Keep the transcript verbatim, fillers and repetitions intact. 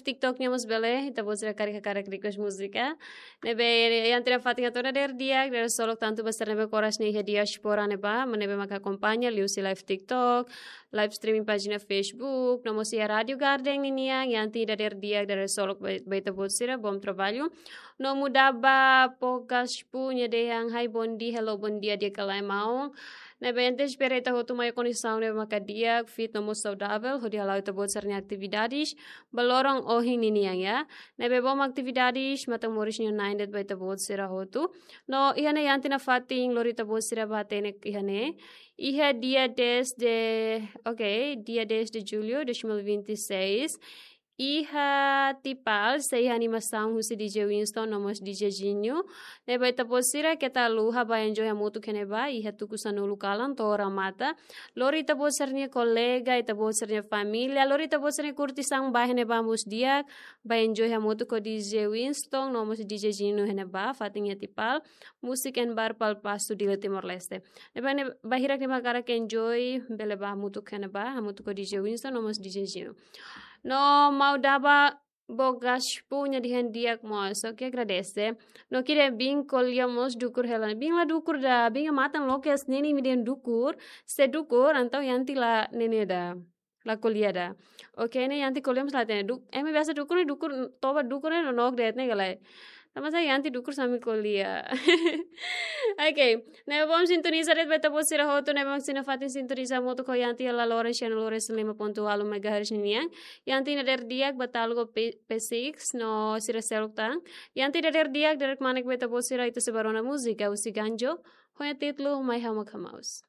TikTok nian mós bele, ita-boot sira karik hakarak request múzika. Ne'ebé, iha ita-nia fatin atu dadeer di'ak, dadeer solok tantu ba sira ne'ebé koras ne'e iha diáspora ne'ebá, ne'ebé mak akompaña, liuhusi live TikTok, live streaming pájina Facebook, no mós iha Rádio Garden ninian, iha ita dadeer di'ak, dadeer solok ba, ba ita-boot sira, bom trabalho. No muda ba Pogas Pu nia dehan, hai, bom dia, hello, bom dia, di'ak ka lae maun. Ne'ebé ita espera ita hotu mai kondisaun ne'ebé maka di'ak, fit no mós saudavel, hodi hala'o ita-boot sira-nia atividades ba loron ohin ninian, ya. Ne'ebé bom atividades, matan moris nia na'in de'it ba ita-boot sira hotu. No iha ne'e iha ita-nia fatin, lori ita-boot sira ba hatene iha ne'e. Iha dia dez de, ok, dia dez de julho de dois mil e vinte e seis. Iha Tipal, sei iha animasaun husi D J Winston, no mós D J Zinho. Ne'ebé ita-boot sira keta haluha ba enjoy hamutuk iha ne'ebá, iha tuku sanulu kalan to'o remata. Lori ita-boot sira-nia kolega, ita-boot sira-nia família, lori ita-boot sira-nia kurtisaun ba iha ne'ebá mós di'ak, ba enjoy hamutuk ho D J Winston, no mós D J Zinho iha ne'ebá, fatin iha Tipal, Music and Bar Palpasu, Dili, Timor-Leste. Ne'ebé ne'e ba hirak ne'ebé hakarak enjoy, bele ba hamutuk iha ne'ebá, hamutuk ho D J Winston, no mós D J Zinho. No mau daba Pogas Pu nia dehan di'ak mós, oke, agradese. No kire bin ko'alia mós dukur hela. Bin la dukur ida, bin matan loke hanesan ne'e imi dehan dukur, se dukur, entaun iha ita la ne'e ida. La ko'alia ida. Oke, ne'e iha ita ko'alia mós la hatene. Du, ema biasa dukur ne'e dukur, toba dukur ne'e nonook de'it ne'e ka lae. Tanba sá iha ita dukur sambil ko'alia. Oke, ne'ebé bom sintoniza de'it ba ita-boot sira hotu, ne'ebé mak iha ita-nia fatin sintoniza hamutuk ho iha ita iha laloran sessenta e nove ponto nol megahertz ninian. Iha ita dadeer di'ak ba Talgo P, P six no sira seluk tan. Iha ita dadeer di'ak, dadeer kmanek ba ita-boot sira, ita sei bá rona múzika husi Ganjo, ho nia títulu Mai Ha'u Mak Hamaus.